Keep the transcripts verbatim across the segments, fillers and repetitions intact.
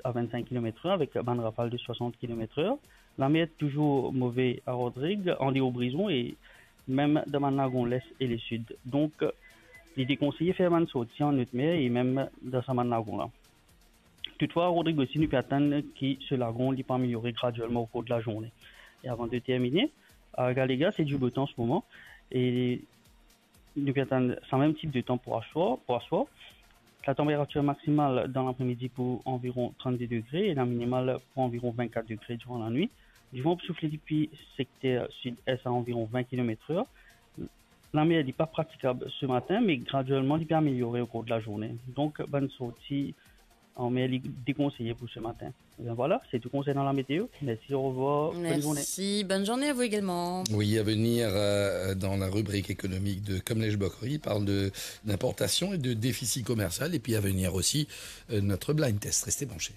a vennsenk kilometr er avek bann rafal de swasant kilometr er. Lamer touzour move a Rodrig, andeor Brison e mem dan bann lagon les e lesid. Donk, li dekonseye fer bann sorti an not mer e mem dan sa bann lagon la. Toutfwa, Rodrig osi, nou pe atann ki so lagon li pou ameliore graduelman okour de lazourne. E avan de termine, a Gallegarre, se dibotan an se moman. E nou pe atann sa mem tip de tan pou aswar, pou aswar. Latanperatir maksimal dan lapremidi pou anviron trannde degre e laminimal pou anviron vennkat degre diran lanwit. Divan pou soufle depi sekter sid-es a anviron vin kilometr er. Lamer li pa pratikab se matin, me graduelman li pe ameliore okour de lazourne. Donk, bann sorti an mer li dekonseye pou se matin. Ebien vwala, se tou konsernan lameteo. Mersi, orevwar, bonn zourne. Merci, bonne journée à vous également. Oui, à venir, euh, dans la rubrique économique de Kamlesh Bokory, il parle de, d'importation et de déficit commercial. Et puis à venir aussi, euh, notre blind test. Restez branchés.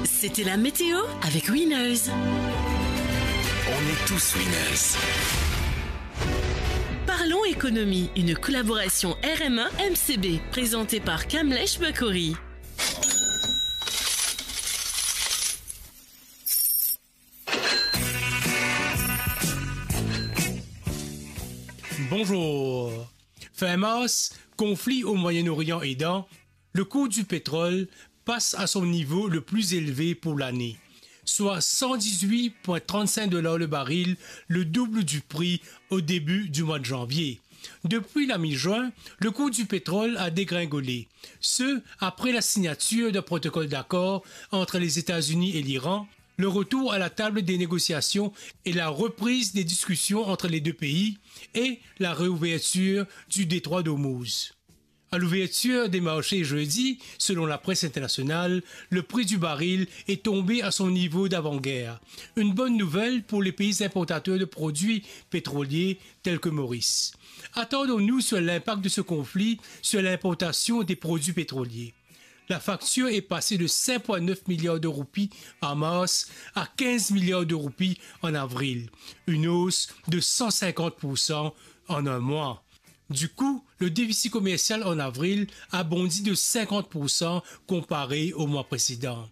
C'était la météo avec Winners. On est tous winners. Parlons économie, une collaboration R M un M C B, présentée par Kamlesh Bokory. Bonjour. Fin mars, conflit au Moyen-Orient aidant, le cours du pétrole passe à son niveau le plus élevé pour l'année, soit cent dix-huit point trente-cinq dollars le baril, le double du prix au début du mois de janvier. Depuis la mi-juin, le cours du pétrole a dégringolé, ce après la signature d'un protocole d'accord entre les États-Unis et l'Iran, le retour à la table des négociations et la reprise des discussions entre les deux pays et la réouverture du détroit d'Ormuz. À l'ouverture des marchés jeudi, selon la presse internationale, le prix du baril est tombé à son niveau d'avant-guerre. Une bonne nouvelle pour les pays importateurs de produits pétroliers tels que Maurice. Attardons-nous sur l'impact de ce conflit sur l'importation des produits pétroliers. La facture est passée de cinq point neuf milliards de roupies en mars à quinze milliards de roupies en avril, une hausse de cent cinquante pour cent en un mois. Du coup, le déficit commercial en avril a bondi de cinquante pour cent comparé au mois précédent.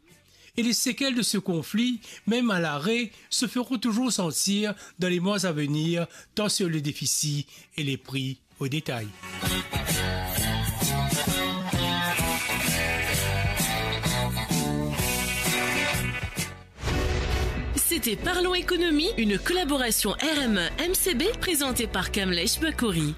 Et les séquelles de ce conflit, même à l'arrêt, se feront toujours sentir dans les mois à venir, tant sur le déficit et les prix au détail. C'était Parlons Économie, une collaboration R M un M C B présentée par Kamlesh Bokory.